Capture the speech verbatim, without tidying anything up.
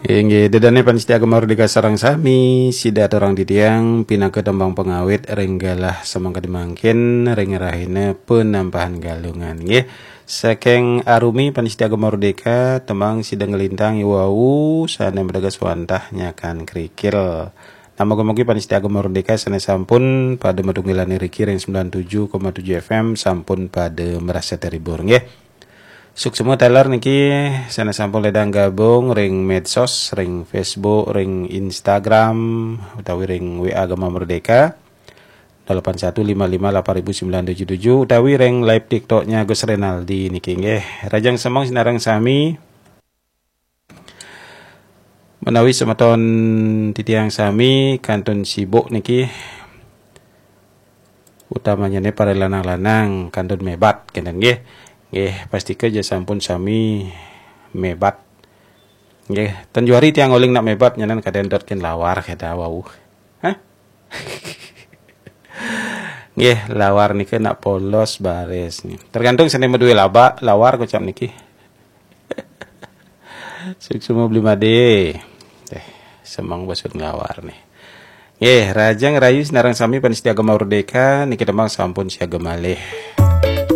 Inggih, ida dané pamiarsa Gema Merdeka sareng sami, sida aturang titiang pinaka tembang pangawit ring galah samangkadi mangkin ring rahina penampahan Galungan, nggih. Saking Arumi pamiarsa Gema Merdeka, tembang sida nglintang iwau sané mateges wantah nyakan krikil. Nah, mugi-mugi pamiarsa Gema Merdeka sané sampun pada matunggilan iriki ring sembilan tujuh koma tujuh F M sampun pada marasa terhibur, nggih. Suksma taler niki sané sampun ledang gabung ring medsos, ring Facebook, ring Instagram, utawi ring W A Gema Merdeka, delapan satu lima lima delapan ribu sembilan tujuh tujuh, utawi ring live TikToknya Gus Renaldi niki, nggih. Rahajeng semeng sinareng sami. Menawi semeton titiang sami kantun sibuk niki, utamanya né para lanang-lanang kantun mébat, kénten nggih. Nggih, pastika ja sampun sami mébat. Nggih, ten juari tiang uling nak mébat nyanan kadén dot kén lawar kéto wau. Hah? Nggih, lawar nika nak polos baris nih. Tergantung sané madué laba, lawar kocap niki. Suksma Bli Madé. Eh, semeng basut nglawar nih. Nggih, rahajeng rahayu sinareng sami pamiarsa Gema Merdeka, niki tembang sampun siaga malih.